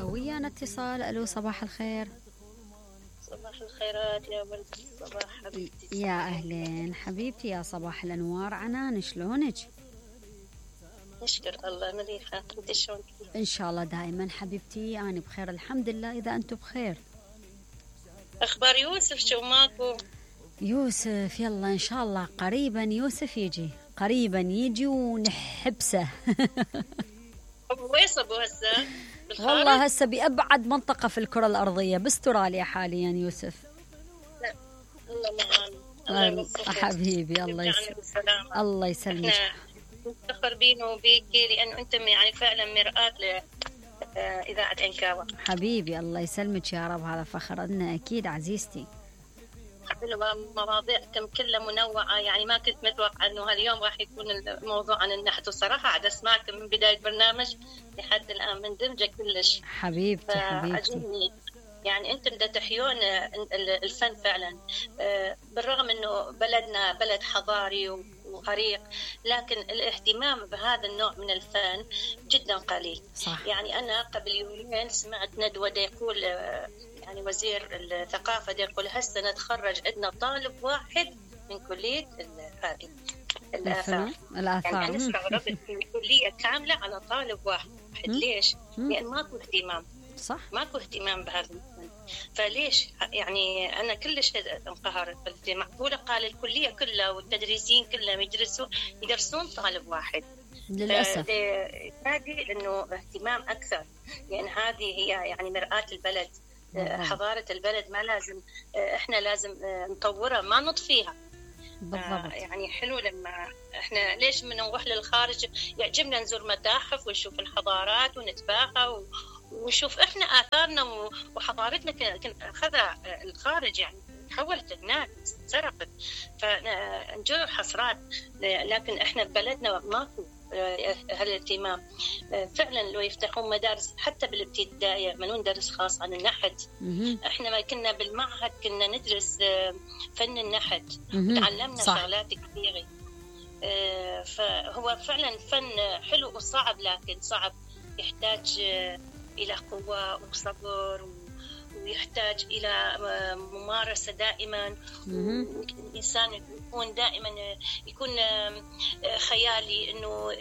ويانا اتصال. الو صباح الخير. صباح الخيرات يا ولد الصباح حبيبتي. يا اهلين حبيبتي، يا صباح الانوار. عنان شلونك؟ نشكر الله مليحة، انت شلونك؟ ان شاء الله دائما حبيبتي، انا بخير الحمد لله. اذا انتم بخير. اخبار يوسف شو ماكو؟ يوسف يلا ان شاء الله قريبا يوسف يجي، قريبا يجي ونحبسه. وين صبوا هسه؟ والله هسه بأبعد منطقة في الكرة الأرضية، باستراليا حاليا يوسف. لا الله معانا، الله يوفقك حبيبي. الله يسلمك. نفتخر بينه وبيكي لأنه أنتم يعني فعلا مرآة لإذاعة عنكاوة. حبيبي الله يسلمك يا رب، هذا فخر لنا أكيد عزيزتي. حلوة مواضيعكم كلها منوعة، يعني ما كنت متوقعة أنه هاليوم راح يكون الموضوع عن النحت، وصراحة عاد أسمعكم من بداية البرنامج لحد الآن مندمجة كلش. حبيبتي يعني أنتم دا تحيون الفن فعلا، بالرغم أنه بلدنا بلد حضاري وعريق، لكن الاهتمام بهذا النوع من الفن جدا قليل. صح. يعني أنا قبل يومين سمعت ندوة يقول يعني وزير الثقافة يقول هسه نتخرج عندنا طالب واحد من كلية هذه الآثار. يعني أنا استغربت في كلية كاملة على طالب واحد. ليش؟ لأن ماكو اهتمام. صح. ماكو اهتمام بهذا الفن. فليش؟ يعني أنا كلش انقهرت. معقولة قال الكلية كلها والتدريسين كلهم يدرسون طالب واحد؟ للأسف. هذه إنه اهتمام أكثر، لأن هذه هي يعني مرآة البلد. حضارة البلد ما لازم إحنا لازم نطورها ما نطفيها. بالضبط. يعني حلو لما إحنا ليش من نروح للخارج يعجبنا نزور متاحف ونشوف الحضارات ونتباهى ونشوف إحنا آثارنا وحضارتنا أخذها الخارج، يعني تحولت هناك سرقت، فنجور حسرات. لكن إحنا ببلدنا ماكو هالاهتمام. فعلا لو يفتحون مدارس حتى بالابتدائية ما ندرس خاص عن النحت. احنا ما كنا بالمعهد كنا ندرس فن النحت، تعلمنا شغلات كثيرة. فهو فعلا فن حلو وصعب، لكن صعب، يحتاج إلى قوة وصبر ويحتاج إلى ممارسة دائما. الإنسان يكون دائما يكون خيالي، إنه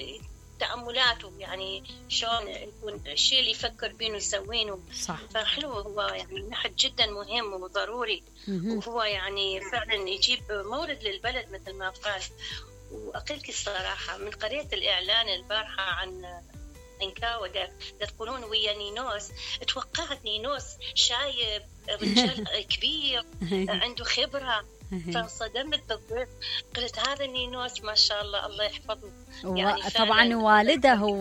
تأملاته يعني شلون يكون الشيء اللي يفكر بينه يسوينه. صح. فحلو هو يعني النحت جدا مهم وضروري، وهو يعني فعلا يجيب مورد للبلد مثل ما قال. وأقولك الصراحة من قريت الإعلان البارحة عن عنكاوة تقولون ويا نينوس، توقعت نينوس شايب رجال كبير عنده خبرة، فانصدمت بالضبط. قلت هذا نينوس ما شاء الله الله يحفظه. يعني طبعا والده هو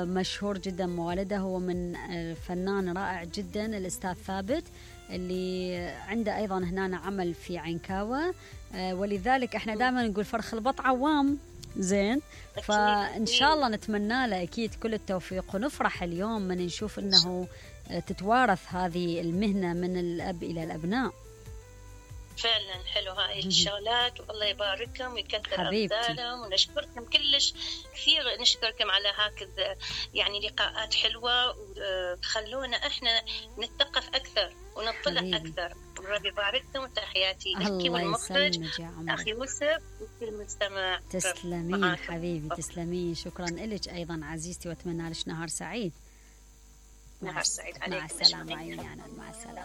مشهور جدا، والده هو من فنان رائع جدا الأستاذ ثابت اللي عنده أيضا هنا عمل في عنكاوة، ولذلك احنا دائما نقول فرخ البط عوام. زين، فإن شاء الله نتمنى له أكيد كل التوفيق، ونفرح اليوم من نشوف أنه تتوارث هذه المهنة من الأب إلى الأبناء. فعلا حلو هاي الشغلات، والله يبارككم ويكثر أمثالهم، ونشكركم كلش كثير، نشكركم على هكذا يعني لقاءات حلوة، وتخلونا احنا نتثقف أكثر ونطلع أكثر. ربي يبارككم، وتحياتي لك والمخرج أخي يوسف وكل المستمع. تسلمين حبيبي، تسلمين، شكرا لك أيضا عزيزتي، وأتمنى لك نهار سعيد. نهار سعيد عليكم. مع السلامة. مع السلامة.